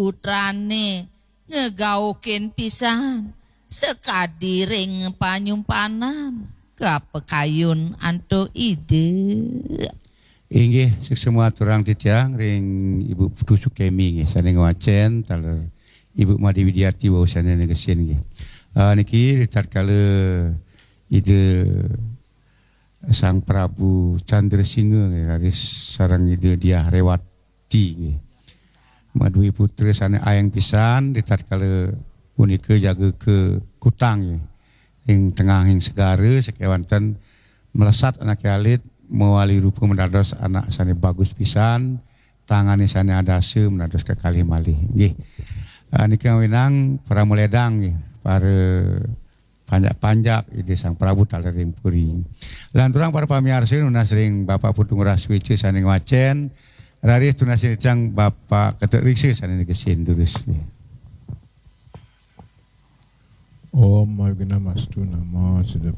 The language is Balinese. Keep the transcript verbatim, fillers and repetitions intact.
putrane ngegaukin pisan sakadi ring panyumpanan kapakayun antuk Ida. Inggih, suksma aturang titiang ring Ibu Putu Sukemi nggih, sane ngwacen taler Ibu Made Widiati wau sane negesin nggih. Ah, niki ritatkala Ida Sang Prabu Chandrasingha nggih, raris sareng Ida Diah Rewati nggih. Madue putra sane ayeng pisan, ritatkala punika jaga ka kutang nggih. Ring tengahing segara sakewanten mlesat anake alit mawali rupa madados anak sane bagus pisan, tangane sane adasa madados kekalih malih. Nggih. Ah, nika ngawinang para maledang nggih, para panjak-panjak Ida Sang Prabu taler ring puri. Lanturang para pamiarsa nunas ring Bapak Putu Ngurah Sueca sane ngwacen, raris tunasin titiang Bapak Ketut Riksa sane negesin durus. Om Awighnam Astu Namo Siddham.